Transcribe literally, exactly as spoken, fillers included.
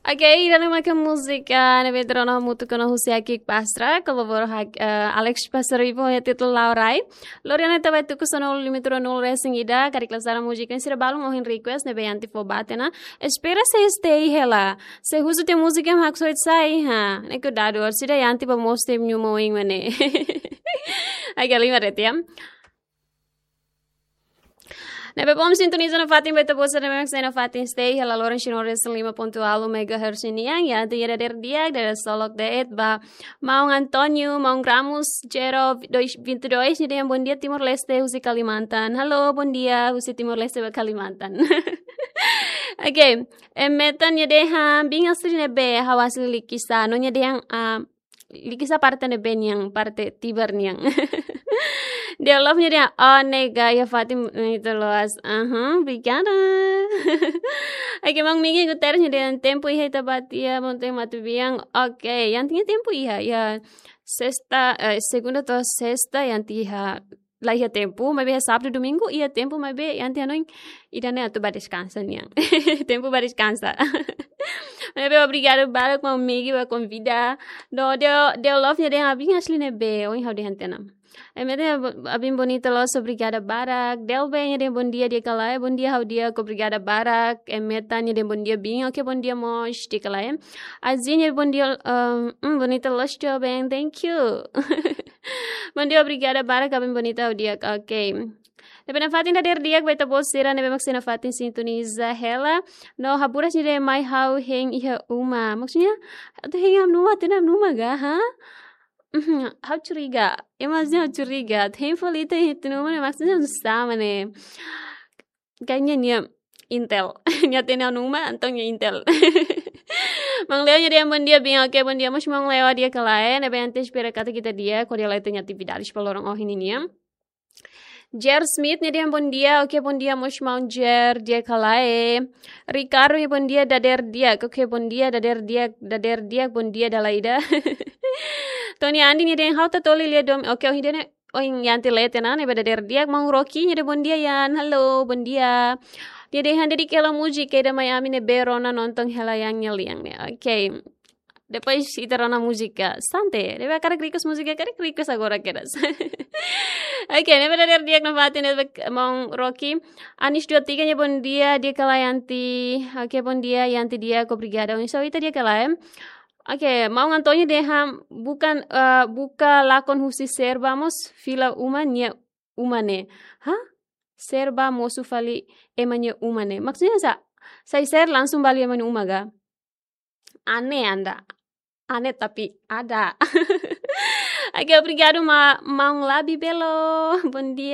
Oke, ida-ne'e mak múzika ne'ebé rona hamutuk ona husi Akik Pastra, kolabora ho, eh, Alex Pasaribu, iha títulu Laurai. Lori ona ita ba tuku sanulu lima tuku nol resin ida, karik la sala múzika ne'e sira balun ohin request ne'ebé Yanti fó ba tiha ona. Espera sei stay hela. Se husu tiha múzika ne'e haksoit sai, ha. Ne'e kuidadu, orsida Yanti ba mós tiha nyuma oin mane. Agora lima retu ya. Ne'ebé bom sintoniza nafatin ba ita-boot sira ne'ebé mak sei nafatin stay hela loron sino resin lima pontu ualu megahertz nian, Yanti nia dadeer di'ak, dadeer solok de'it ba Maun António, Maun Ramos, Jero dois, vinte e dois, nia dehan bom dia Timor-Leste, husi Kalimantan. Halo, bom dia, husi Timor-Leste ba Kalimantan. Oke, eh, Metan nia dehan, biin asli ne'ebé, ha'u asli Likisá, no nia dehan, ah, Likisá parte ne'ebé nian, parte Tibar nian. Dia love nia dehan, oh, nega, iha fatin ita loas. Aham, obrigada. Oke, Maun Migi Guterres nia dehan, tempu iha ita-boot iha, Monte Matubiang. Oke, Yanti nia tempu iha, iha sesta, eh, segunda to'o sesta Yanti iha, la iha tempu, maibé iha sábadu, domingu iha tempu, maibé Yanti hanoin ida-ne'e atu ba deskansa nian. Tempu ba deskansa. Maibé obrigada barak Maun Migi ba konvida. No, dia, dia love nia dehan biin asli ne'ebé, ohin ha'u dehan tiha ona. Eh, Metan, biin bonita loos, obrigada barak. Delbe nia dehan bom dia di'ak ka lae, bom dia ha'u di'ak, obrigada barak. Eh, Metan nia dehan bom dia biin, oke, bom dia mós di'ak ka lae. Azin nia dehan bom dia, um, um, bonita loos, joven, thank you. Bom dia, obrigada barak, biin bonita ha'u di'ak, oke. Ne'ebé nafatin dadeer di'ak ba ita-boot sira ne'ebé mak sei nafatin sintoniza hela. No, Haburas nia dehan mai ha'u hein iha uma. Maksudnya, atu hein iha uma, tiha ona uma ga, ha? Mhm, ha'u curiga. Ema sira ha'u curiga. Hein fali ita iha tiha ona uma ne'e maksudnya sama ne'e. Kayaknya nia intel. Nia tiha ona uma, entaun nia intel. Maun Leo nia dehan bom dia biin, oke, bom dia mós Maun Leo di'ak ka lae, ne'ebé Yanti espera katak ita di'ak, hodi hala'o ita-nia atividades ba loron ohin nian. Jer Smith nia dehan bom dia, oke, bom dia mós Maun Jer, di'ak ka lae. Ricardo nia bom dia, dadeer di'ak, oke, bom dia, dadeer di'ak, dadeer di'ak, bom dia dala ida. Tony Andi nia dehan ha'u tatoli lia dom, oke, ohin ida-ne'e, ohin Yanti lee tiha ona, ne'ebé dadeer di'ak. Maun Rocky nia dehan bom dia Yan, halo, bom dia. Nia dehan dedik hela múzika ida mai ami ne'ebé rona nonton hela Yan nia lian ne'e, oke. Depois ita rona múzika. Sante, ne'ebé hakarak request múzika, hakarak request agora kedas. Oke, ne'ebé dadeer di'ak nafatin ne'ebé Maun Rocky. Anis dua tiga nia bom dia, di'ak ka lae Yanti. Oke, bom dia, Yanti di'ak, obrigada. Oinsá ita di'ak ka lae. Oke, Maun António dehan bukan, eh, buka lakon husi Serba mós fila uma nia uma ne'e. Hah? Serba mosu fali ema nia uma ne'e. Maksudnya sá? Sai Serba langsung ba ema nia uma ga? Aneh anda. Aneh tapi ada. Oke, obrigadu ma-, Maun Labi Belo. Bom dia.